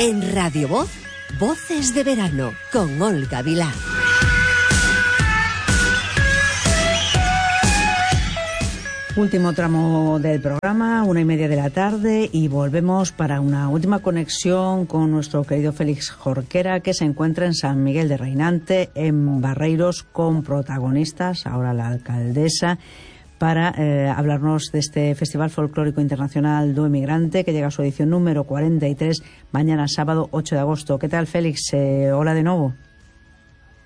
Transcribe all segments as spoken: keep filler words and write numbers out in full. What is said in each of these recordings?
En Radio Voz, Voces de Verano, con Olga Vilar. Último tramo del programa, una y media de la tarde, y volvemos para una última conexión con nuestro querido Félix Jorquera, que se encuentra en San Miguel de Reinante, en Barreiros, con protagonistas, ahora la alcaldesa, para eh, hablarnos de este Festival Folclórico Internacional do Emigrante, que llega a su edición número cuarenta y tres, mañana sábado ocho de agosto. ¿Qué tal, Félix? Eh, hola de nuevo.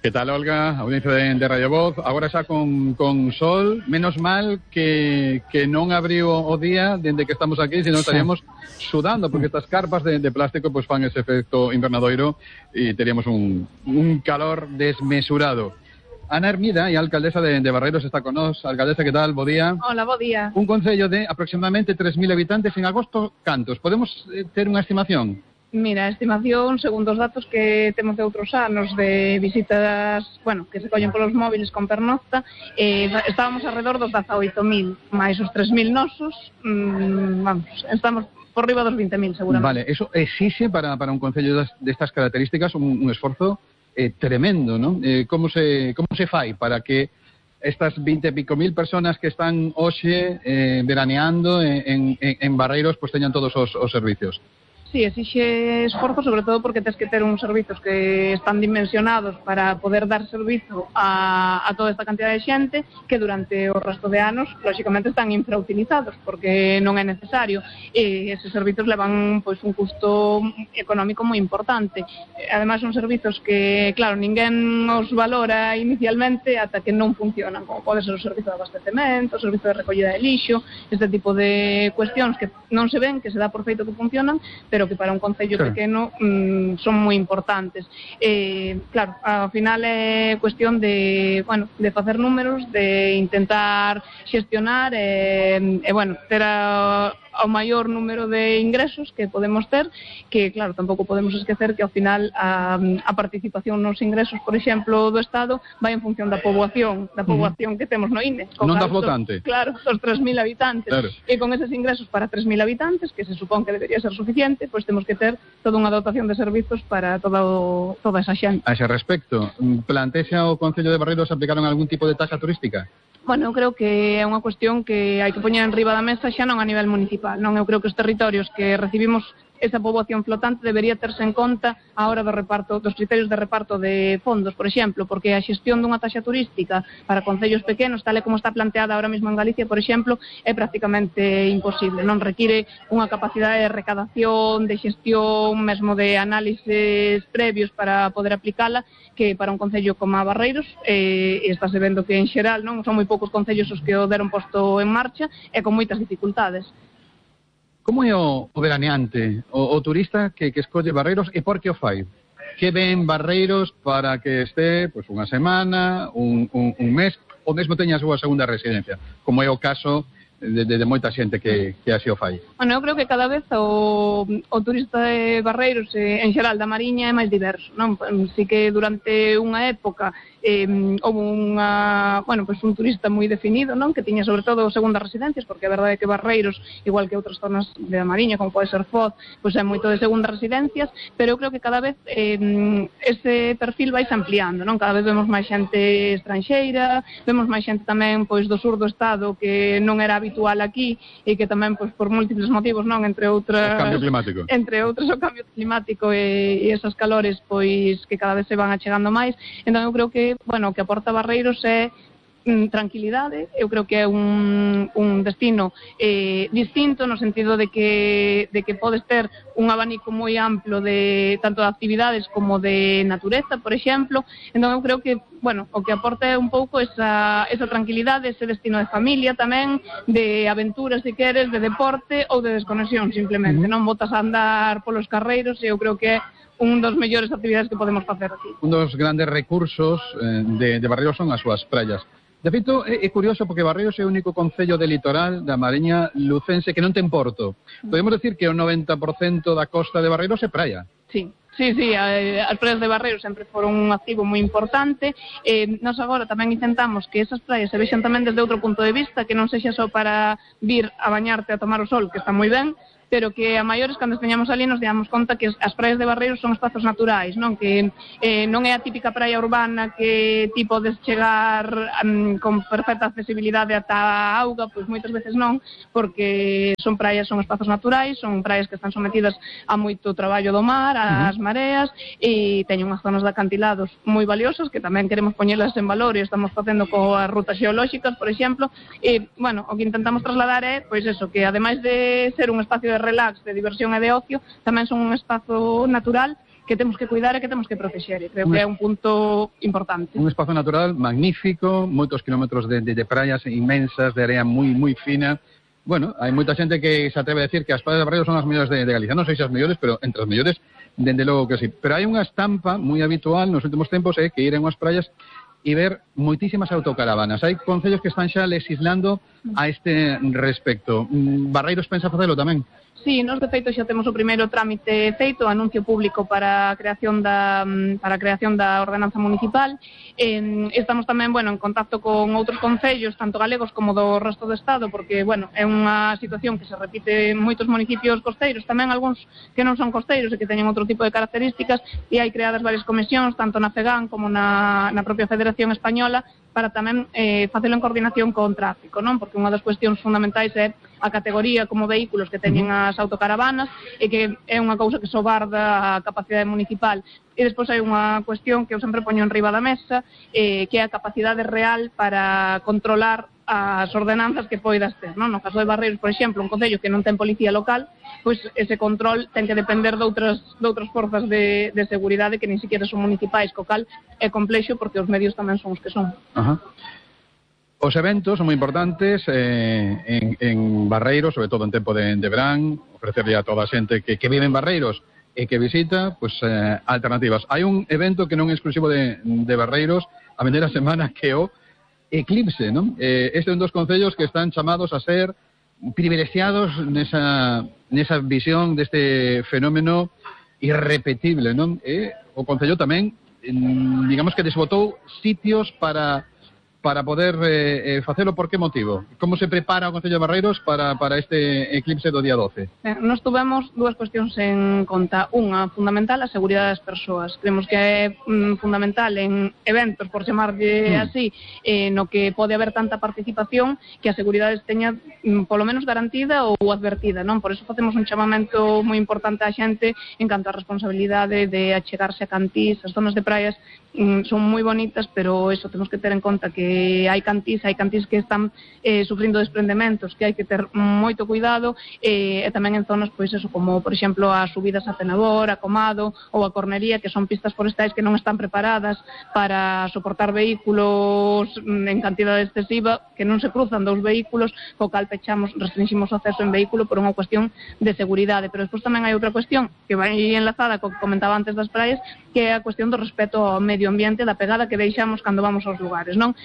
Que tal, Olga? Audiencia de, de Radio Voz. Agora xa con, con sol. Menos mal que, que non abriu o día dende que estamos aquí, senón estaríamos sudando, porque estas carpas de, de plástico pues fan ese efecto invernadoiro e teríamos un, un calor desmesurado. Ana Hermida, e alcaldesa de, de Barreiros, está con nós. Alcaldesa, que tal? Bo día. Hola, bo día. Un concello de aproximadamente tres mil habitantes. En agosto, cantos? Podemos eh, ter unha estimación? Mira, a estimación, segundo os datos que temos de outros anos de visitas, bueno, que se collen polos móviles con pernocta, eh, estábamos alrededor dos dezaoito mil, máis os tres mil nosos, mmm, vamos, estamos por riba dos vinte mil seguramente. Vale, eso exixe para, para un concello destas características un, un esforzo eh, tremendo, ¿no? Eh, como se, como se fai para que estas vinte e pico mil personas que están hoxe eh, veraneando en, en, en Barreiros pues teñan todos os, os servicios? Sí, exixe esforzo, sobre todo porque tens que ter uns servizos que están dimensionados para poder dar servizo a, a toda esta cantidad de xente que durante o resto de anos, lóxicamente, están infrautilizados porque non é necesario, e eses servizos levan pois un custo económico moi importante. Ademais, son servizos que, claro, ninguén os valora inicialmente ata que non funcionan, como pode ser o servizo de abastecemento, o servizo de recollida de lixo, este tipo de cuestións que non se ven, que se dá por feito que funcionan, pero que para un concello sí. pequeno mmm, son moi importantes. Eh, claro, ao final é cuestión de, bueno, de facer números, de intentar xestionar e, eh, eh, bueno, ter a ao maior número de ingresos que podemos ter, que claro, tampouco podemos esquecer que ao final a, a participación nos ingresos, por exemplo, do Estado vai en función da poboación, da poboación uh-huh. que temos no I N E. Non da flotante. Claro, dos tres mil habitantes. Claro. E con eses ingresos para tres mil habitantes, que se supón que debería ser suficiente, pois pues temos que ter toda unha dotación de servizos para toda, o, toda esa xente. A ese respecto, plantexa o Concello de Barreiros aplicaron algún tipo de taxa turística? Bueno, eu creo que é unha cuestión que hai que poñer en riba da mesa xa non a nivel municipal, non? Eu creo que os territorios que recibimos esa poboación flotante debería terse en conta a hora do reparto, dos criterios de reparto de fondos, por exemplo, porque a xestión dunha taxa turística para concellos pequenos, tal e como está planteada ahora mesmo en Galicia, por exemplo, é prácticamente imposible, non require unha capacidade de recadación, de xestión, mesmo de análises previos para poder aplicala, que para un concello como a Barreiros, eh, estáse vendo que en xeral non son moi poucos concellos os que o deron posto en marcha e con moitas dificultades. Como é o, o veraneante, o, o turista que, que escolle Barreiros e por que o fai? Que ven Barreiros para que este pues, unha semana, un, un, un mes, ou mesmo teña a súa segunda residencia, como é o caso de, de, de moita xente que, que así o fai? Bueno, eu creo que cada vez o, o turista de Barreiros, eh, en xeral da Mariña, é máis diverso, non? Si que durante unha época eh, houve unha, bueno, pues un turista moi definido, non? Que tiña sobre todo segundas residencias, porque a verdade é que Barreiros, igual que outras zonas de a Mariña, como pode ser Foz, pois é moito de segundas residencias, pero eu creo que cada vez eh, ese perfil vai se ampliando, non? Cada vez vemos máis xente estranxeira, vemos máis xente tamén pois do sur do estado que non era habitual aquí e que tamén pois por múltiples motivos, non? Entre outras, o cambio climático. Entre outros o cambio climático e, e esas calores pois que cada vez se van achegando máis. Entón eu creo que bueno, o que aporta Barreiros é mm, tranquilidade. Eu creo que é un, un destino eh, distinto no sentido de que, de que podes ter un abanico moi amplo de tanto de actividades como de natureza, por exemplo. Entón eu creo que, bueno, o que aporta é un pouco esa, esa tranquilidade, ese destino de familia tamén, de aventuras, se queres, de deporte ou de desconexión, simplemente. Mm-hmm. Non botas a andar polos carreiros e eu creo que é un dos mellores actividades que podemos facer aquí. Un dos grandes recursos eh, de, de Barreiros son as súas praias. De feito, é, é curioso porque Barreiros é o único concello de litoral da Mariña lucense que non ten porto. Podemos decir que o noventa por cento da costa de Barreiros é praia. Sí. Sí, sí, as praias de Barreiros sempre foron un activo moi importante. Eh, nós agora tamén intentamos que esas praias se vexan tamén desde outro punto de vista, que non sexa só para vir a bañarte a tomar o sol, que está moi ben, pero que a maiores, cando esteñamos ali, nos damos conta que as praias de Barreiros son espazos naturais, non? Que eh, non é a típica praia urbana que ti podes chegar um, con perfecta accesibilidade ata a auga, pois moitas veces non, porque son praias, son espazos naturais, son praias que están sometidas a moito traballo do mar, ás mareas, e teñen unhas zonas de acantilados moi valiosas que tamén queremos poñelas en valor e estamos facendo coas rutas xeolóxicas, por exemplo, e, bueno, o que intentamos trasladar é, pois eso, que ademais de ser un espacio de relax, de diversión e de ocio, tamén son un espazo natural que temos que cuidar e que temos que protexer, e creo que é un punto importante. Un espazo natural magnífico, moitos kilómetros de, de, de praias inmensas, de area moi moi fina. Bueno, hai moita xente que se atreve a decir que as praias de Barreiros son as mellores de, de Galicia. Non sei se as mellores, pero entre as mellores, dende logo que sí. Pero hai unha estampa moi habitual nos últimos tempos, é que ir en unhas praias e ver moitísimas autocaravanas. Hai concellos que están xa legislando a este respecto. Barreiros pensa facelo tamén? Sí, nos de feito xa temos o primeiro trámite feito, o anuncio público para a creación da para a creación da ordenanza municipal. Eh, estamos tamén, bueno, en contacto con outros concellos, tanto galegos como do resto do estado, porque, bueno, é unha situación que se repite en moitos municipios costeiros, tamén algúns que non son costeiros e que teñen outro tipo de características, e hai creadas varias comisións, tanto na FEGAN como na, na propia Federación Española, para tamén eh, facelo en coordinación con tráfico, non? Porque unha das cuestións fundamentais é a categoría como vehículos que teñen as autocaravanas e que é unha cousa que sobarda a capacidade municipal. E despois hai unha cuestión que eu sempre poño en riba da mesa, eh, que é a capacidade real para controlar as ordenanzas que poidas ter, non? No caso de Barreiros, por exemplo, un concello que non ten policía local, pois ese control ten que depender de outras, de outras forzas de, de seguridade que nin siquiera son municipais, co cal é complexo porque os medios tamén son os que son. Ajá. Os eventos son moi importantes eh, en, en Barreiros, sobre todo en tempo de, de verán, ofrecerle a toda a xente que, que vive en Barreiros e que visita, pues, eh, alternativas. Hai un evento que non é exclusivo de, de Barreiros, a vindeira semana, que o Eclipse, non? Eh, este é un dos concellos que están chamados a ser privilegiados nesa, nesa visión deste fenómeno irrepetible, non? E o concello tamén, digamos que desbotou sitios para para poder eh, eh, facelo. Por que motivo? Como se prepara o Concello de Barreiros para, para este eclipse do día doce? Eh, nos tuvemos dúas cuestións en conta. Unha, fundamental, a seguridade das persoas. Creemos que é mm, fundamental en eventos, por chamarlle mm. así, eh, no que pode haber tanta participación, que a seguridade teña mm, polo menos garantida ou advertida, non? Por eso facemos un chamamento moi importante á xente en canto á responsabilidade de achegarse a cantís. As zonas de praias mm, son moi bonitas, pero eso temos que ter en conta que hai cantís, hai cantís que están eh, sufrindo desprendementos, que hai que ter moito cuidado, eh, e tamén en zonas, pois eso, como por exemplo as subidas a Penador, a Comado ou a Cornería, que son pistas forestais que non están preparadas para soportar vehículos en cantidade excesiva, que non se cruzan dous vehículos, co cal pechamos, restringimos o acceso en vehículo por unha cuestión de seguridade. Pero despois tamén hai outra cuestión que vai enlazada co que comentaba antes das praias, que é a cuestión do respeto ao medio ambiente, da pegada que deixamos cando vamos aos lugares, non?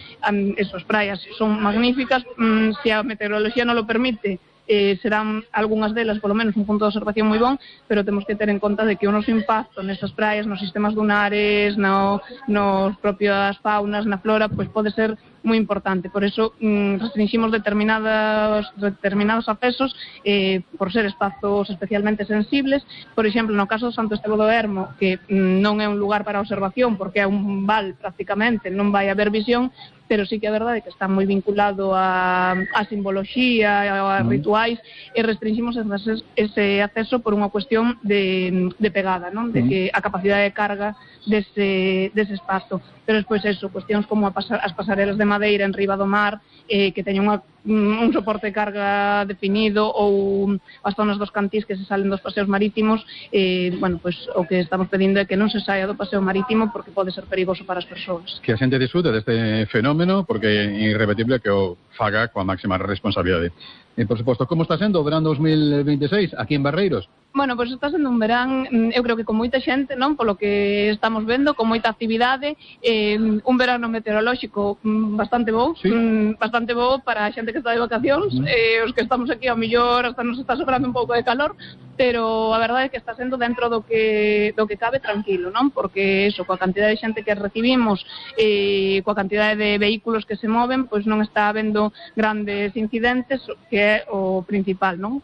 Esas praias son magníficas, mm, se a meteoroloxía non lo permite, eh, serán algunhas delas, polo menos, un punto de observación moi bon, pero temos que ter en conta de que o noso impacto nesas praias, nos sistemas dunares, no, nos propias faunas, na flora, pois pode ser moi importante. Por eso mm, restringimos determinados, determinados accesos eh, por ser espazos especialmente sensibles. Por exemplo, no caso do Santo Estevo do Ermo, que mm, non é un lugar para observación porque é un val prácticamente, non vai haber visión, pero sí que é verdade que está moi vinculado a, a simboloxía, a, a rituais, e restringimos ese, ese acceso por unha cuestión de, de pegada, non? De que a capacidade de carga dese, dese espazo. Pero despois eso, cuestións como a pasar, as pasarelas de madeira en riba do mar, eh, que teñen unha, un soporte de carga definido, ou as zonas dos cantís que se salen dos paseos marítimos, eh, bueno, pois o que estamos pedindo é que non se saia do paseo marítimo porque pode ser perigoso para as persoas. Que a xente disfrute deste fenómeno, porque é irrepetible que o faga coa máxima responsabilidade. E, por suposto, como está sendo o verán dos mil veintiséis aquí en Barreiros? Bueno, pois pues está sendo un verán, eu creo que con moita xente, non? Polo que estamos vendo, con moita actividade, eh, un verano meteorolóxico bastante bo, sí. bastante bo para a xente que está de vacacións, mm. eh, os que estamos aquí ao millor hasta nos está sobrando un pouco de calor, pero a verdade é que está sendo dentro do que do que cabe tranquilo, non? Porque eso, coa cantidade de xente que recibimos, eh, coa cantidade de vehículos que se moven, pois non está habendo grandes incidentes, que é o principal, non?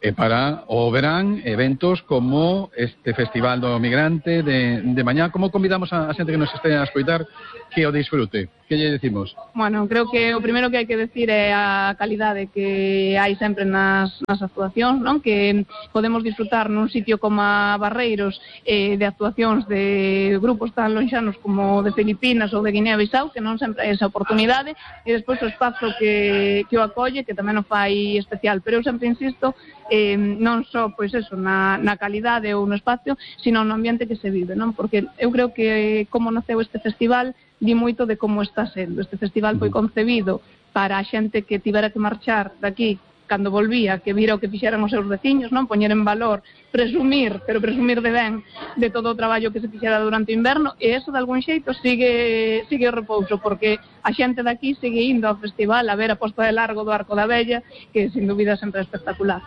e para o verán eventos como este Festival do Migrante de, de mañá. Como convidamos a, a xente que nos este a escoitar que o disfrute? Que lle decimos? Bueno, creo que o primeiro que hai que decir é a calidade que hai sempre nas, nas actuacións, non? Que podemos disfrutar nun sitio como a Barreiros eh, de actuacións de grupos tan lonxanos como de Filipinas ou de Guinea-Bissau, que non sempre hai esa oportunidade, e despois o espazo que, que o acolle, que tamén o fai especial. Pero eu sempre insisto, eh, non só pois eso, na, na calidade ou no espacio, sino no ambiente que se vive, non? Porque eu creo que como naceu este festival di moito de como está sendo. Este festival foi concebido para a xente que tivera que marchar daqui cando volvía, que vira o que fixeran os seus veciños, non? Poñer en valor, presumir, pero presumir de ben de todo o traballo que se fixera durante o inverno, e eso de algún xeito sigue sigue o repouso, porque a xente daqui sigue indo ao festival a ver a posta de largo do Arco da Vella, que sin dúbida sempre é espectacular.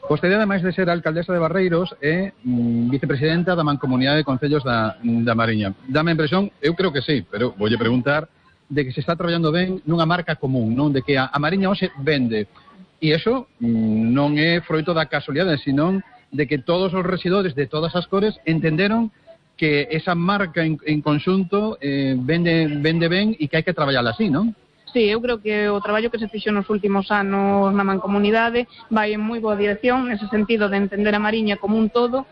Vostede, ademais de ser alcaldesa de Barreiros, é mm, vicepresidenta da Mancomunidade de Concellos da, da Mariña. Dame a impresión, eu creo que sí, pero voulle preguntar de que se está traballando ben nunha marca común, non? De que a, a Mariña hoxe vende. E iso mm, non é froito da casualidade, sino de que todos os rexidores de todas as cores entenderon que esa marca en, en conxunto eh, vende, vende ben e que hai que traballar así, non? Sí, eu creo que o traballo que se fixo nos últimos anos na Mancomunidade vai en moi boa dirección, nese sentido de entender a Mariña como un todo,